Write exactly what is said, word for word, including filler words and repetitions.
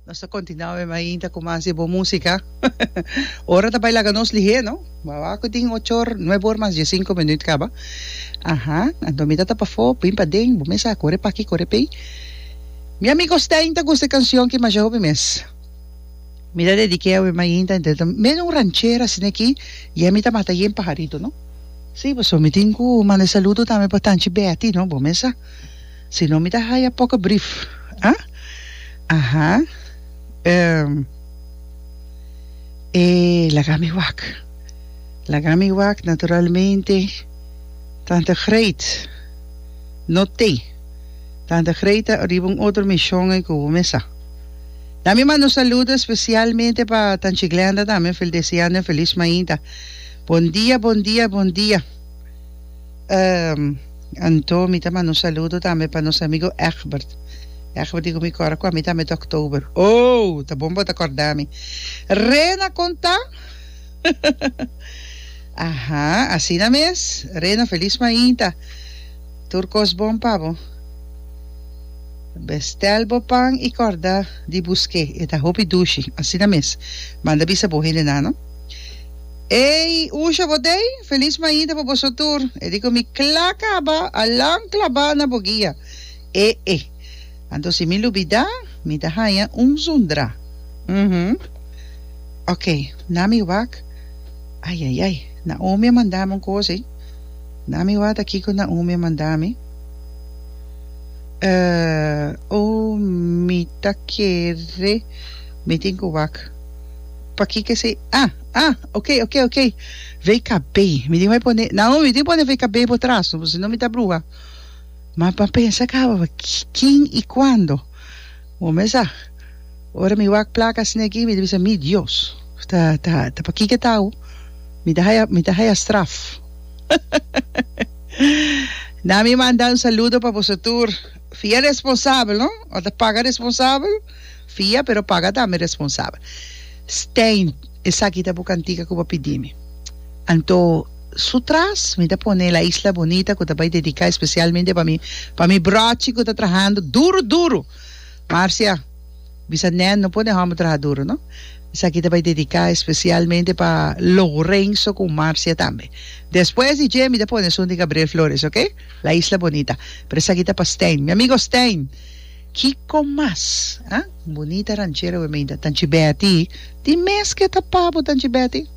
Nos ta continua awe mainta cu mas di bo musica. Ora ta bay laga nos lihe, no? Wawa cu tin ocho or, nuebe or mas diescinco minuut caba. Aha, anto mi ta ta pafó, bin paden, bo mes a core p'aki, core p'ey. Mi amigo Stijn ta gusta e cancion ki masha hopi mes. Mi ta dedique awe mainta, ente ta medio un ranchera asina aki, y ami ta mata yen paharito, no? Sí, pasobra mi tin cu manda e saludo tambe pa Tanchi Betty, no? Bo mes sa. Si no mi ta haya poco brief. Ah? Aha. Ehm. E laga mi wak. Laga mi wak naturalmente. Tante Greet no t'ey. Tante Greet ta riba un otro mision ey cu bo mes sa. Na mi manda un saludo especialmente pa Tanchi Glenda tambe fel deseando un feliz mainta. Bon dia, bon dia, bon dia. Ehm. Anto mi ta manda un saludo tambe pa nos amigo Egbert. Egbert di ku mi kòrda ku ami tambe ta oktober. Oh, ta bon bo ta kòrda mi. Rena kon ta? Aha, asina mes. Rena, felis mainta. Tur kos bon pa bo. Bestèl bo pan i kòrda di busk'é. E ta hopi dushi. Asina mes. Manda bisa bo hendenan, no? Ey, Usha bo t'ey? Felis mainta pa boso tur. E di ku mi kla kaba, alan klabá na bo guia. E e. Anto si mi lubidá, mi ta haña un zundrá. Uhum. Oké, na mi wak. Ai, ai, ai. Naomi a manda mi un kos ey. Na mi wak ta kiko Naomi a manda mi. Eh, oh, mi ta kere mi tin ku wak. Pakiko esei? Ah, ah, ok, ok, ok. V K B. Mi tin bai pone, Naomi, mi tin pone V K B bo tras, no, si no mi ta bruha. Ma pa pensa kaba, kin i kuando? Bo mes sa. Ora mi wak plaka asina aki, mi ta bisa, mi Dios, ta, ta, ta pakiko e ta awo? Mi ta haya, mi ta haya straf. Na mi manda un saludo pa boso tur. Fia responsabel, no? O ta paga responsabel? Fia, pero paga tambe responsabel. Stijn, esaki ta bo kantika ku bo pidi mi. Anto, su tras, mi ta pone La Isla Bonita ku ta bai dediká espesialmente pa mi, pa mi brochi ku ta trahando duru duru. Marcia, bisa nen no pone hòmber traha duru, no? Esaki ta bai dediká espesialmente pa Lorenzo ku Marcia tambe. Despues di dje mi ta pone esun di Gabriel Flores, ok? La Isla Bonita. Pero esaki ta pa Stijn. Mi amigo Stijn, kiko mas? Ah, bunita ranchera we meinta. Tanchi Betty, di mes ke ta pa bo, Tanchi Betty?